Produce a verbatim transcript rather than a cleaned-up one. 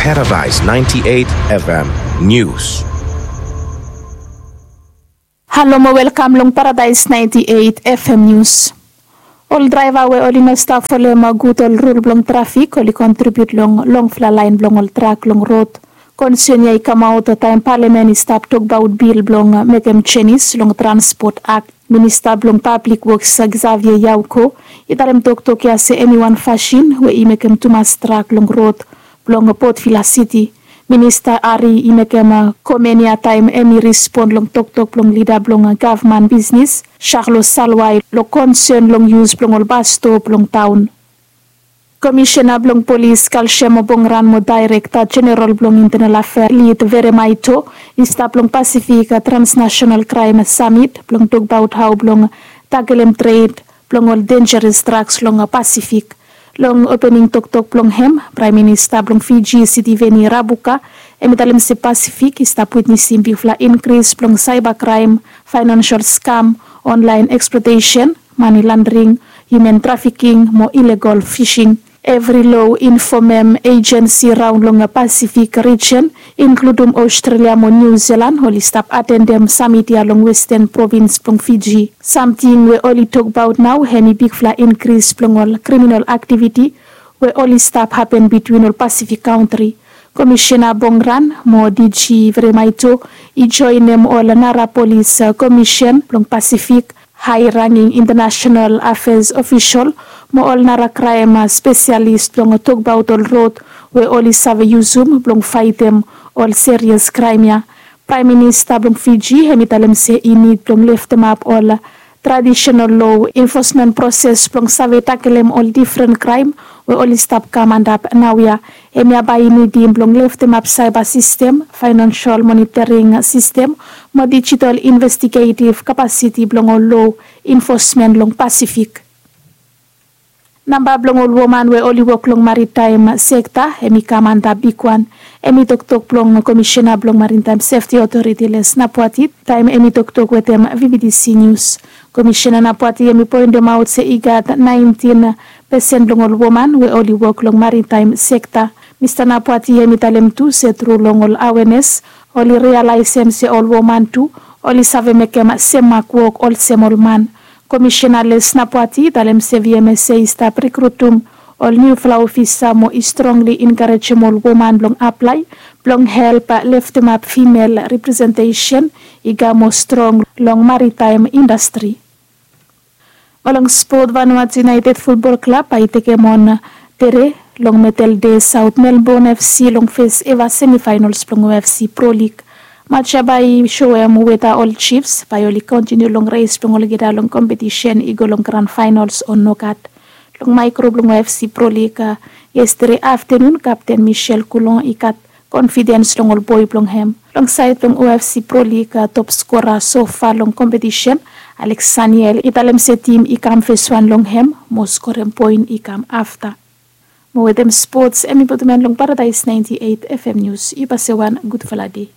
Paradise ninety-eight F M News. Halo mo welkam long Paradise ninety-eight F M News. Ol draeva we oli no stap folem gud ol rul blong trafik oli kontribiut long longfala laen blong ol trak long rod. Konsen ya i kamaot taem palamen i stap tokbaot bil blong mekem jenis long transpot akt. Minista blong pablik woks Xavier Yauko i talem toktok ya se hemi wan fasin we i mekem tumas trak long rod blong Port Vila Siti. Minista Ari i mekem komen ya taem hemi rispon long toktok blong lida blong gavman bisnis Charlo Salwai long konsen long yus blong ol bas stop long taon. Komisena blong polis Kalsem Bongran mo daerekta jeneral blong intenal afea Lid Veremaito i stap long Pasifik Transnasional Kraem Samit blong tokbaot hao blong takelem tred blong ol denjeres draks long Pasifik. Long opening toktok blong hem, Praem Minista blong Fiji Sitiveni Rabuka hemi talem se Pasifik i stap witnesem bigfala inkris blong saeba kraem, faenansial skam, onlaen eksplotesen, mane landring, hiuman trafiking mo ilegol fising. Evri lo infomem ejensi raon long Pasifik rijen, inkludum Aostralia mo Niu Silan, oli stap atendem samit ya long westen provins blong Fiji. Samting we oli tokbaot nao hemi bigfala inkris blong ol kriminal aktiviti we oli stap hapen bitwin ol Pasifik kantri. Komisena Bongran mo D G Veremaito i joenem ol nara polis komisen blong Pasifik, hae ranging intanasenal afeas ofisol mo ol nara kraem spesialis blong tokbaot ol rod we oli save yusum blong faetem ol serias kraem ya. Praem Minista blong Fiji hemi talem se i nid blong leftemap ol tradisenal lo enfosmen proses blong save takelem ol difren kraem we oli stap kam antap naoia. Hemia bae i nidim blong leftemap saeba sistem, faenansial monitoring sistem mo dijital investigetiv kapasiti blong ol lo enfosmen long Pasifik. Namba blong ol woman we oli wok long maritaem sekta hemi kam antap bigwan. Hemi toktok blong Komisena blong Maritaem Sefti Otoriti Les Napwati taem hemi toktok wetem V B T C Nius. Komisena Napwati hemi poendemaot se i gat naentin pesen blong ol woman we oli wok long maritaem sekta. Mista Napwati hemi talem tu se tru long ol awenes oli rialaesem se ol woman tu oli save mekem semak wok olsem ol man. Komisena Les Napwati i talem se V M S A i stap rikrutum ol niufala ofisa mo i strongli enkarejem ol woman blong aplae blong help leftemap fimel representesen i kam moa strong long maritaem indastri. Mo long spot, Vanuatu United Futbol Klab bae i tekem on tede long Medal Dei Saot Melbon F C long fes eva semifaenols blong O F C Pro Lig. Match ya bae i soem weta ol Chiefs bae oli kontiniu long res blong olgeta long kompetisen i go long gran faenols o nogat. Long maekro blong O F C Pro Lig, yestede aftenun kapten Michel Coulon i gat konfidens long ol boe blong hem. Long saed blong O F C Pro Lig, top skora sofa long kompetisen, Alex Saniel, i talem se tim i kam feswan long hem mo skorem poen i kam afta. Mo wetem spots, hemi putum en long Paradaes naenti eit F M Nius. Yu pase wan gudfala dei.